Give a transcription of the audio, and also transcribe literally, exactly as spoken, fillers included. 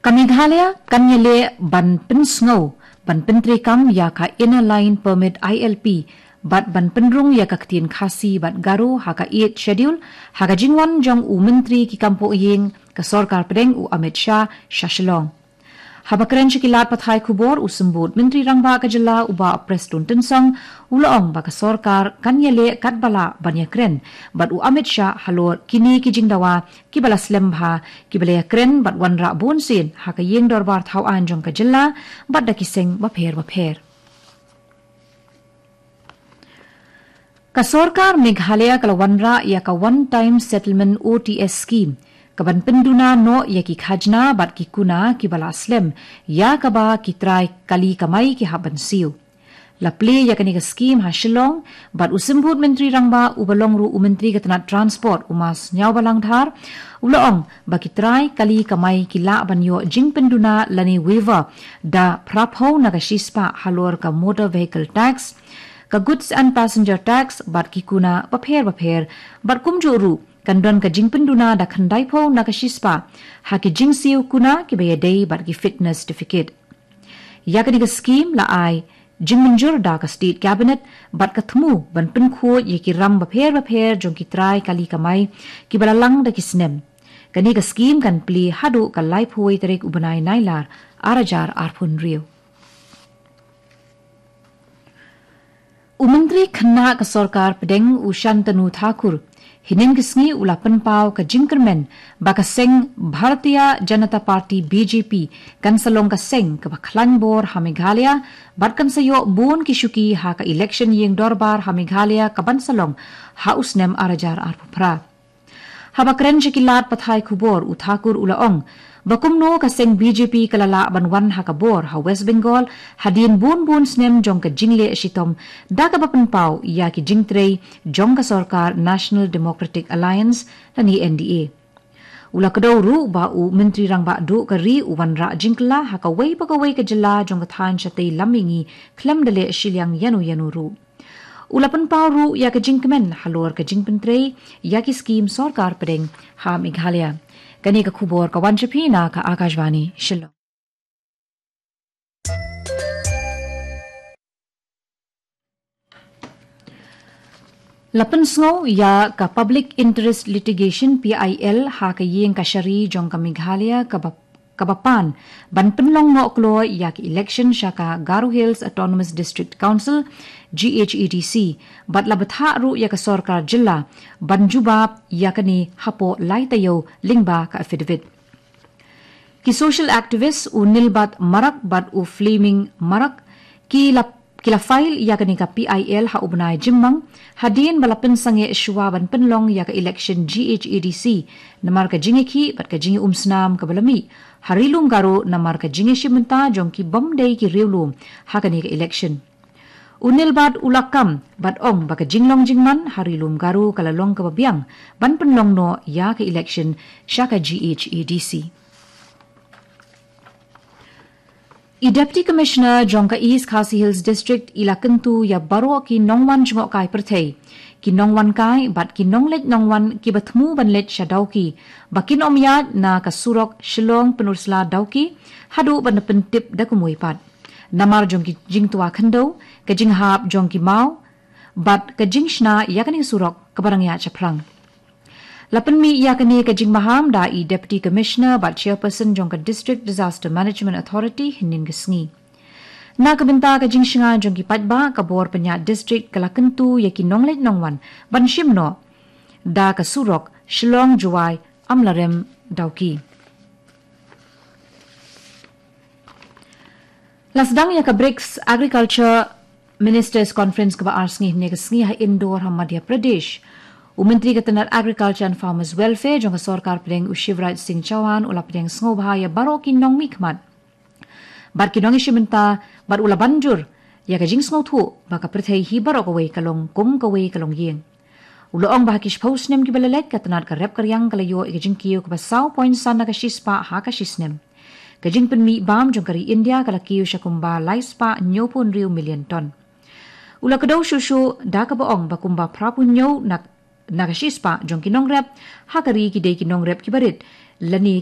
Ka Meghalaya kan ïaleh ban pynsngew, ban pyntreikam ïa ka Inner Line Permit I L P, bad ban pynrung ïa ka ktien Khasi bad Garo ha ka Eighth Schedule, ha ka jingwan jong u Myntri ki kam poh ïing ka Sorkar Pdeng u Amit Shah sha Shillong. Haba kren sha ki lad pathai khubor, u Symbud Myntri Rangbah ka jylla u Bah Prestone Tynsong, u la ong ba ka sorkar kan ïaleh katba lah ban ïakren bad u Amit Shah halor kine ki jingdawa kiba la slem bha, kiba la ïakren bad wanrah bunsien ha ka ïing dorbar thaw aiñ jong ka jylla bad da ki seng bapher bapher. Ka sorkar Meghalaya ka la wanrah ïa ka One Time Settlement, O T S, scheme, kaban pynduna noh ïa ki khajna bad ki kuna kiba la slem, ïa kaba ki trai kali kamai ki hap ban siew. La plie ïa kane ka scheme ha Shillong, bad u Symbud Myntri Rangbah uba long ruh u Myntri ka tnat Transport, u Ma Sniawbhalang Dhar, u la ong ba ki trai kali kamai ki lah ban ïoh jingpynduna lane waiver da phra phew na ka shispah halor ka Motor Vehicle Tax, ka Goods and Passenger Tax bad ki kuna bapher bapher, bad kumjuh ruh kan don ka jingpynduna da khyndai phew na ka shispah ha ki jingsiew kuna kiba ïadei bad ki fitness certificate. Ïa kane ka scheme la ai jingmynjur da ka State Cabinet bad ka thmu ban pynkhuid ïa ki ram bapher bapher jong ki trai kali kamai kiba la lang da ki snem. Kane ka scheme kan plie haduh ka laiphew tarik u bnai Nailar, ar hajar arphew hynriew. U Myntri Khynnah ka Sorkar Pdeng u Shantanu Thakur, hynnin ka sngi u la pynpaw ka jingkyrmen ba ka seng Bharatiya Janata Party, B J P, kan sa long ka seng kaba khlaiñ bor ha Meghalaya, bad kan sa ïoh bun ki shuki ha ka election ïing dorbar ha Meghalaya kaban sa long ha u snem ar hajar arphew phra. Haba kren sha ki lad pathai khubor, u Thakur u la ong ba kumno ka seng B J P ka la lah ban wan ha ka bor ha West Bengal hadien bun bun snem jong ka jingleh shitom, da kaba pynpaw ïa ki jingtrei jong ka sorkar National Democratic Alliance lane N D A. U la kdew ruh ba u Myntri Rangbah Duh ka ri u wanrah jingkylla ha kawei pa kawei ka jylla jong ka thaiñ shatei lam mihngi khlem da leh shiliang ïano ïano ruh. U la pynpaw ruh ïa ka jingkmen halor ka jingpyntrei ïa ki scheme Sorkar Pdeng ha Meghalaya. Kane ka khubor ka wan sha phi na ka Akashvani Shillong. La pynsngew ïa ka Public Interest Litigation, P I L, ha ka ïing kashari jong ka Meghalaya kaba, kaba pan ban pynlong noh kloi ïa ka election sha ka Garo Hills Autonomous District Council, G H A D C, bad la bthah ruh ïa ka sorkar jylla ban jubab ïa kane hapoh lai taïew lyngba ka affidavit. Ki social activist u Nilbad Marak bad u Fleming Marak ki la, ki la file ïa kane ka P I L ha u bnai Jymmang, hadien ba la pynsangeh shuwa ban pynlong ïa ka election G H A D C, namar ka jingïakhih bad ka jingïaumsnam kaba la mih ha Ri Lum Garo namar ka jingïashim bynta jong ki bym dei ki riewlum ha kane ka election. U Nilbad u la kam bad ong ba ka jinglong jingman ha Ri Lum Garo ka la long kaba biang ban pynlong noh ïa ka election sha ka G H A D C. I Deputy Commissioner jong ka East Khasi Hills District i la kyntu ïa baroh ki nongwan jngohkai pyrthei, ki nongwan kai bad ki nongleit nongwan kiba thmu ban leit sha Dawki, ba kin ym ïaid na ka surok Shillong Pynursla Dawki haduh ban da pyntip da kumwei pat, namar jong ki jingtwa khyndew, ka jinghap jong ki maw bad ka jingshna ïa kane ka surok kaba dang ïaid shaphrang. La pynmih ïa kane ka jingmaham da i Deputy Commissioner bad Chairperson jong ka District Disaster Management Authority hynnin ka sngi. Na ka bynta ka jingshngaiñ jong ki paidbah, ka bor pynïaid district ka la kyntu ïa ki nongleit nongwan ban shim noh da ka surok Shillong Jowai Amlarem Dawki. La sdang ïa ka BRICS Agriculture Ministers Conference kaba ar sngi hynne ka sngi ha Indore ha Madhya Pradesh. U Myntri ka tnat Agriculture and Farmers Welfare jong ka Sorkar Pdeng u Shivraj Singh Chouhan u la pdiang sngewbha ïa baroh ki nongmihkhmat bad ki nongïashim bynta, bad u la ban jur ïa ka jingsngewthuh ba ka pyrthei hi baroh kawei ka long kum kawei ka longïing. U la ong ba ha ki shiphew snem kiba la leit, ka tnat ka rep ka riang ka la ïoh ïa ka jingkiew kaba saw point san na ka shispah ha ka shisnem. Ka jingpynmih bam jong ka ri India ka la kiew sha kumba lai spah hynñiewphew hynriew million ton. U la kdew shuh shuh da kaba ong ba kumba phraphew hynñiew na, na ka shispah jong ki nongrep ha ka ri ki dei ki nongrep kiba rit lane ki